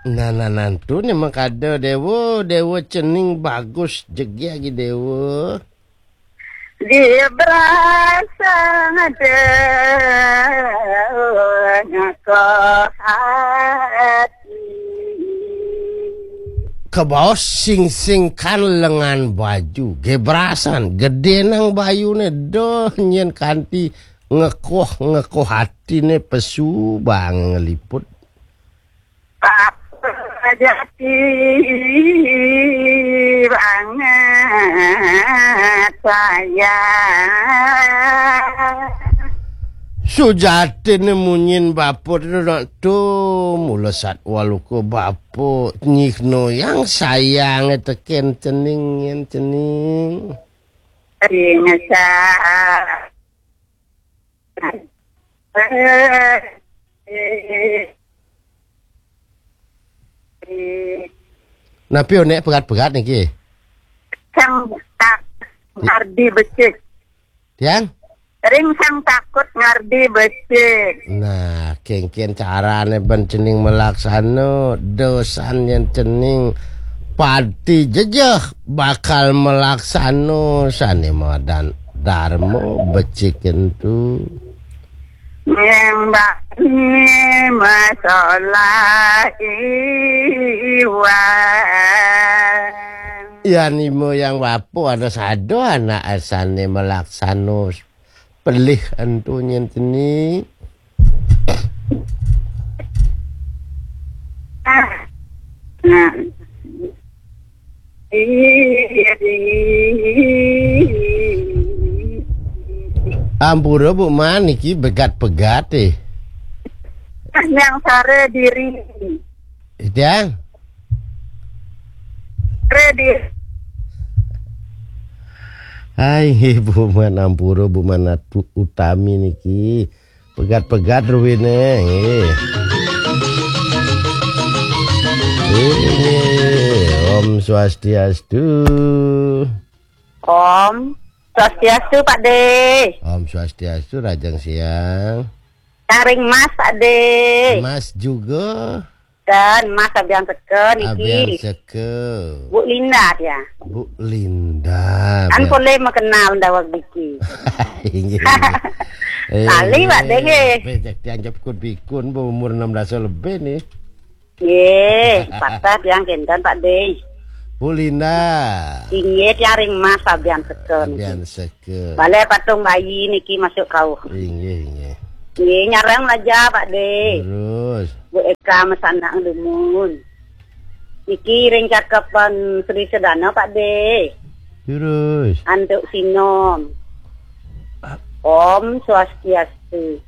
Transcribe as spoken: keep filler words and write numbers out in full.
Nah, nah, nantu nih mengkada Dewa, Dewa cening bagus jegé lagi Dewa. Dia berasa ada ngakoh hati. Kebaos sing-singkan lengan baju, gebrasan, gedé nang bayuné, doh nyén kanti ngekoh-ngekoh hatiné pesu bang ngeliput. Apa jati banget saya. Sujatiné munyin bapa tu nak tu mula satwa luka bapa nyihna yang sayang tekén cening nyén cening. Ring sa-, Napi oné berat-berat niki? Sang tak ngardi becik. Tiang? Ring sang takut ngardi becik. Nah, kéngkén carané ben cening melaksana dosan yén cening pati jejeh bakal melaksana sané madan darma becik éntu. Nyembah ni masalah iwan. Yan imo yang bapa ada sada anak asané malaksana pelih antu nyén teni. Ah. Nah. Ampura Bu Man niki begat-begat eh. Yang sare diri. Tiang. Sare diri. Hai nggih Bu Man ampura Bu Man Atu Utami niki. Pegat-pegat ruwine nggih. Nggih, Om Swastiastu. Om Swastiastu, Pak De. Om Swastiastu, Rajang Siang. Karing Mas, Pak De. Mas juga. Dan Mas Abian Seke niki. Abian Seke. Bu Linda dia. Bu Linda. Kan boleh mengenal dawag niki. Inggih, inggih. Lali, Pak De, nggih. Becek dianggap kun bikun, bu umur enam belas lebih nih. Nggih, patah tiang kenten, Pak De. Bu Linda. Inggih, tiang ring Mas Abian Seke niki. Abian Seke. Bale patung bayi niki masuk kauh. Inggih, inggih. Nggih, nyarang aja, Pak De. Terus. Bu Eka mesanak dumun. Niki ring cakepan Sri Sedana, Pak De. Terus. Antuk sinom. Om Swastiastu.